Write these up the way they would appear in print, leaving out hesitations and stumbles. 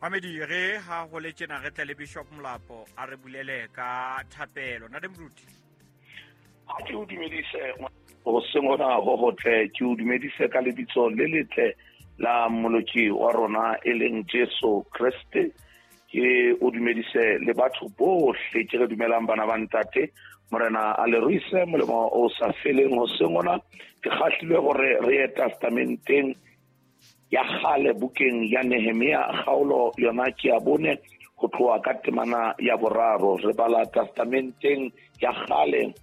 Mamedi re ha ho le tjena re tle le Bishop Molapo a re bulele ka thapelo. Ntate Moruti. Ha ke o dumedise hoseng hona ho hotle, ke o dumedise ka lebitso le letle la Mmoloki wa rona e leng Jesu Kreste. Ke o dumedise le batho bohle ke re dumelang bana ba ntate. Morena a le ruise molemo o sa feleng hoseng hona. Ke kgahlilwe hore re ye testamenteng ya kgale bukeng ya Nehemia, kgaolo yona ke ya 4 ho tloha ka temana ya 3. Re bala testamenteng ya kgale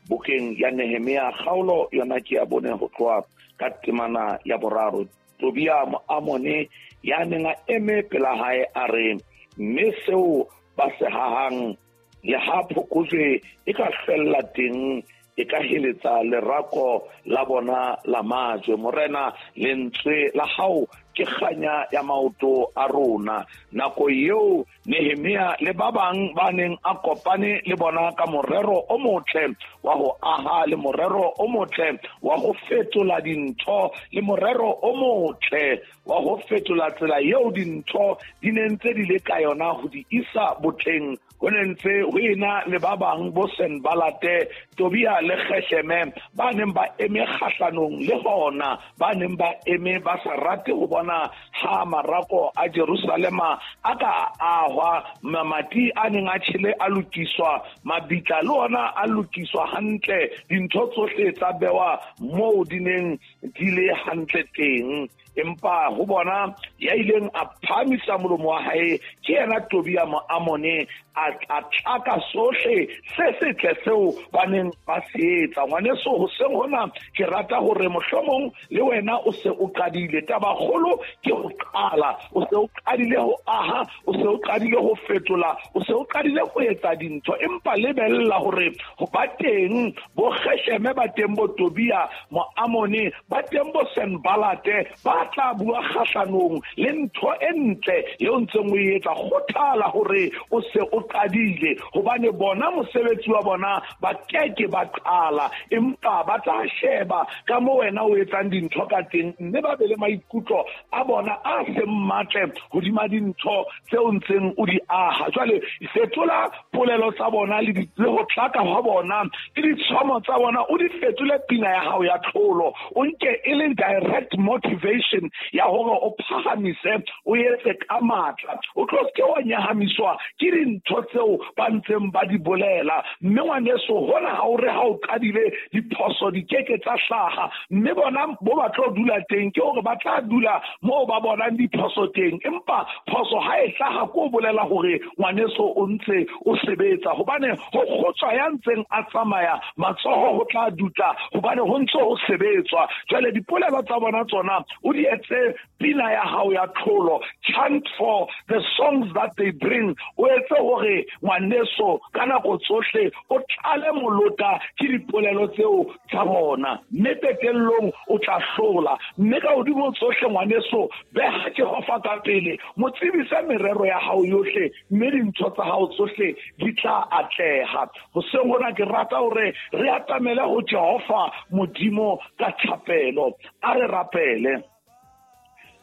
bukeng ya Nehemia, kgaolo yona ke ya 4 ho tloha ka temana ya 3. Tobia Moamone ya neng a eme pela hae a re, mme seo ba se hahang le ha phokojwe e ka hlwella teng, e ka heletsa lerako la bona la majwe. Morena, lentswe la hao ke kganya ya maoto a rona. Nako eo Nehemia le ba bang ba neng a kopane le bona ka morero o motle wa ho aha, le morero o motle wa ho fetola dintho, le morero o motle wa ho fetola tsela eo dintho di neng tse di le ka yona ho di isa botleng, ho ne ntse ho ena le ba bang bo Senbalate, Tobia le Gesheme ba neng ba eme kgahlanong le hona, ba neng ba eme ba sa rate ho bona ha marako a Jerusalema a ka ahwa, mamati a neng a tjhele a lokiswa, mabitla le ona a lokiswa hantle, dintho tsohle tsa bewa moo di neng di le hantle teng. Empa ho bona ya ileng a phahamisa molomo wa hae ke yena Tobia Moamone, a tlaka sohle se setle seo ba neng ba se etsa. Ngwaneso, hoseng hona ke rata hore mohlomong le wena o se o qadile. Tabakgolo ke ho qala. O se o qadile ho aha, o se o qadile ho fetola, o se o qadile ho etsa dintho. Empa lebella hore ho ba teng bo Gesheme, ba teng bo Tobia Moamone, ba teng bo Senbalate, ba tla bua kgahlanong le ntho e ntle eo ntseng o e etsa. Kgothala hore o se o qadile, hobane bona mosebetsi wa bona ba keke ba qala, empa ba tla sheba ka moo wena o etsang dintho ka teng, mme ba be le maikutlo a bona a seng matle hodima dintho tseo ntseng o di aha. Jwale fetola polelo tsa bona le ho tlaka hwa bona le ditshomo tsa bona, o di fetole pina ya hao ya tlholo, o nke e le direct motivation ya hore o phahamise, o etse ka matla, o tlo ke wa nyahamiswa ke dintho tseo ba ntseng ba di bolela. Mme ngwaneso, hona ha o re ha o qadile diphoso di keke tsa hlaha, mme bona bo ba tlo dula teng ke hore ba tla dula moo ba bonang diphoso teng. Empa phoso ha e hlaha ko bolela hore ngwaneso o ntse o sebetsa, hobane ho kgotswa ya ntseng a tsamaya matsoho ho tla dutla, hobane ho ntse ho sebetswa. Jwale dipolelo tsa bona tsona o di etse pina ya hao ya tlholo. Chant for the songs that they bring. O etse hore ngwaneso ka nako tsohle o tlale molota ke dipolelo tseo tsa bona, mme qetellong o tla hlola. Mme ka hodimo tsohle ngwaneso, beha Jehova ka pele, mo tsebise merero ya hao yohle, mme dintho tsa hao tsohle di tla atleha. Hoseng hona ke rata hore re atamele ho Jehova Modimo ka thapelo. A re rapele.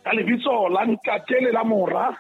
Ka lebitso la Ntate le la Mora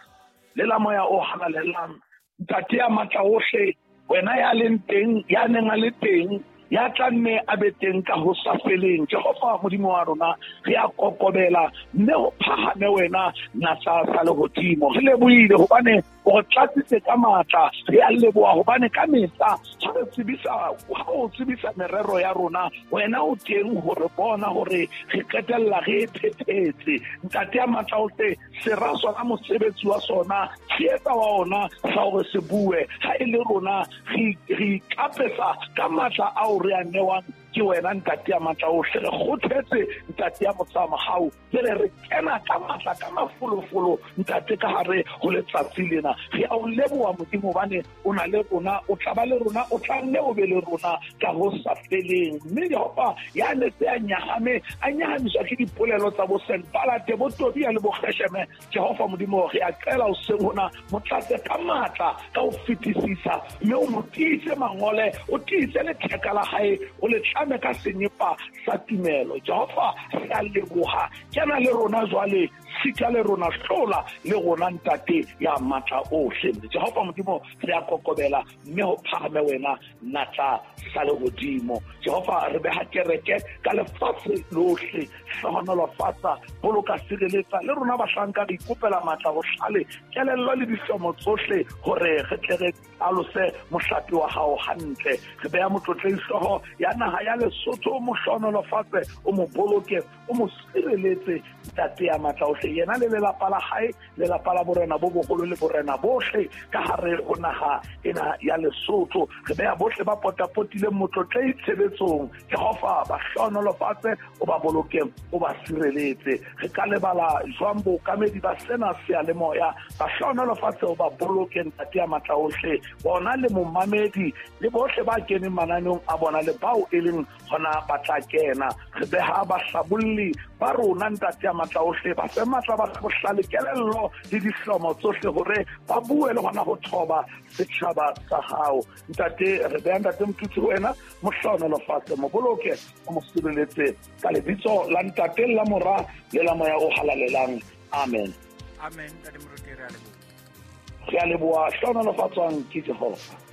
le la Moya o Halalelang, Ntate ya matla ohle, wena ya leng teng, ya neng a le teng, ya tla nne a be teng ka ho sa feleng. Jehova Modimo wa rona, re a kokobela mme ho phahame wena natla sa lehodimo. Re lebohile hobane o re tlatsitse ka matla. Re a leboha hobane ka mehla ha re tsebisa, ha o tsebisa merero ya rona, wena o teng ho re bona hore re qetella re e phethetse. Ntate ya matla ohle, sera sona mosebetsi wa sona, tshehetsa wa ona sa hore se bue. Ha e le rona re ikapesa ka matla ao re a newang ke wena Ntate ya matla ohle. Re kgothetse Ntate ya motsamahau, jwale re kena ka matla ka mafolofolo Ntate ka hare ho letsatsi lena. Re a o leboha Modimo hobane o na le rona, o tla ba le rona, o tla nne o be le rona ka ho sa feleng. Mme Jehova ya ne se a nyahame, a nyahamiswa ke dipolelo tsa bo Senbalate, bo Tobia le bo Gesheme. Jehova Modimo, re a qela hoseng hona, mo tlatse ka matla ka ho fetisisa, mme o mo tiise mangole, o tiise letheka la hae, o le tlame ka senyepa sa tumelo. Jehova, re a leboha. Kena le rona jwale. Sika le rona, hlola le rona, Ntate ya matla ohle. Jehova Modimo, re a kokobela, mme ho phahame wena, natla sa lehodimo. Jehova, re beha kereke ka lefatshe lohle. Hlohonolofatsa, boloka, sireletsa le rona bahlanka. Re ikopela matla, bohlale, kelello le dihlomo tsohle, hore re tle re alose mohlape wa hao hantle. Re beha motlotlei hlooho ya naha ya Lesotho, mo hlohonolofatse, o mo boloke, o mo sireletse, Ntate ya matla ohle, yena le lelapa la hae, lelapa la borena bo boholo le borena bohle ka hare ho naha ena ya Lesotho. Re beha bohle ba potapotileng motlotlei tshebetsong. Jehova, ba hlohonolofatse, o ba boloke, o ba sireletse. Re ka lebala jwang bookamedi ba sena seyalemoya? Ba hlohonolofatse, o ba boloke, Ntate ya matla ohle, bona le momamedi le bohle ba keneng mananeong a bona le bao e leng hona ba tla kena. Re beha bahlabolli ba rona, Ntate ya matla ohle, ba fe matla, ba bohlale, kelello le dihlomo tsohle, hore ba bue le hona ho thoba setjhaba sa hao. Ntate, re beha Ntate Motutsi ho wena, mo hlohonolofatse, mo boloke, o mo sireletse, ka lebitso la Ntate, la Mora le la Moya o Halalelang. Amen. Amen, Ntate Moruti, re a leboha. Re a leboha. Hlohonolofatswang ke Jehova.